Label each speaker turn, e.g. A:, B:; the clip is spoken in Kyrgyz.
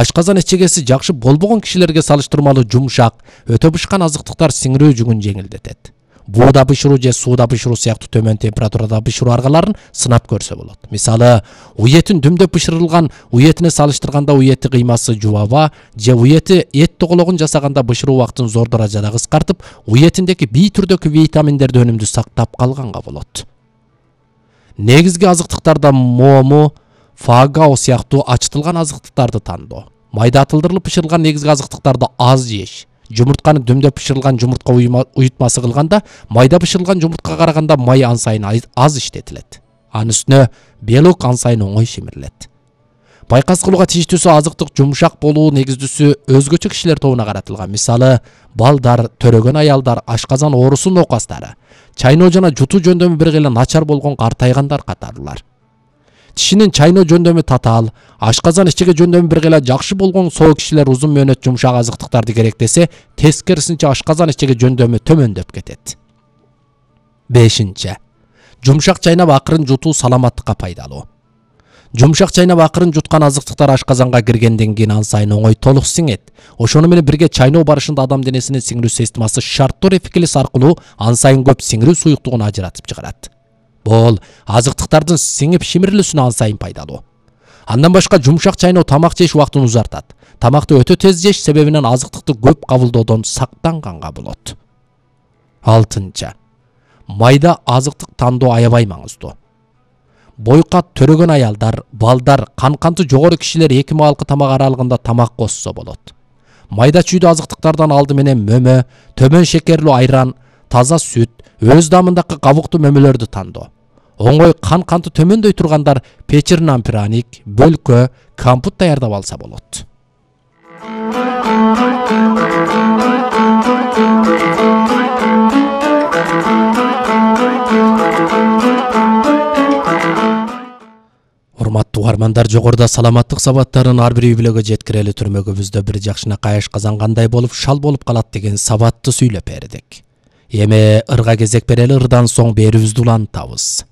A: Ашказан эчегеси жакшы болбогон кишилерге салыштырмалуу жумшак, өтө бышкан азыктыктар сиңирүү жүгүн жеңилдетет. Бууда бышыруу же сууда бышыруу сыяктуу төмөн температурада бышыруу аргаларын сынап көрсө болот. Мисалы, уетин дүмдөп бышырылган уетине салыштырганда уети кыймасы жубаба же уети эт тогологун жасаганда бышыруу убактын зор даражада кыскартып, уетиндеки бий түрдөгү витаминдерди өнүмдүү сактап калганга болот. Негизги азыктыктарда мому, фагао сыяктуу ачытылган азыктыктарды тандоо. Майда атылдырылып бышырылган негизги азыктыктарды аз жеш. Жумуртканы дүмдөп бышырылган жумуртка уютмасы кылганда, майда бышырылган жумурткага караганда май ансайын аз иштетилет. Анын үстүнө белок ансайын оңой шимирилет. Байкас кылууга тийиштүүсү азыктык жумшак болуу негиздүүсү өзгөчө кишилер тобуна каратылган. Мисалы, балдар, төрөгөн аялдар, ашказан оорусу нокастары, чайноо жана жутуу жөндөмү бир гана начар болгон картайгандар катарлар. Тишинин чайноо жөндөмү татаал, ашказан ичеге жөндөмү бир гана жакшы болгон соо кишилер узун мөөнөт жумшак азыктыктарды керектесе, тескерисинче ашказан ичеге жөндөмү төмөндөп кетет. 5. Жумшак чайнап акырын жутуу саламаттыкка пайдалуу. Жумшак чайнап акырын жуткан азыктыктар ашказанга киргенден кийин ансайын оңой толук сиңет. Ошону менен бирге чайноо барышында адам денесинин сиңирүү системасы шарттоо рефлекси аркылуу ансайын көп сиңирүү суюктугун ажыратып чыгарат. Бул азыктыктардын сиңип шимирилүүсүнө ансайын пайдалуу. Андан башка жумшак чайноо тамак жеш убактын узартат. Тамакты өтө тез жеш себебинен азыктыкты көп кабылдоодон сактанганга болот. 6. Майда азыктык тандоо аябай маңыздуу. Бойкат төрөгөн аялдар, балдар, канты жогору кишилер 2 маалкы тамак аралыгында тамак кошсо болот. Майда чүйдүү азыктыктардан алды менен мөмө, төмөн шекерлүү айран, таза сүт, өз дамындагы кабуктуу мөмөлөрдү тандоо. Оңой канты төмөндөй тургандар печирнан пряник, бөлкө, компот даярдап алса болот. Урматтуу угармандар, жогоруда саламаттык сабаттарын ар бир үй-бүлөгө жеткирели түрмөгүбүздө бир жакшынакай ашказан кандай болуп шал болуп калат деген сабатты сүйлөп бердик. Эми ырга кезек берели, ырдан соң берүүбүздү улантабыз.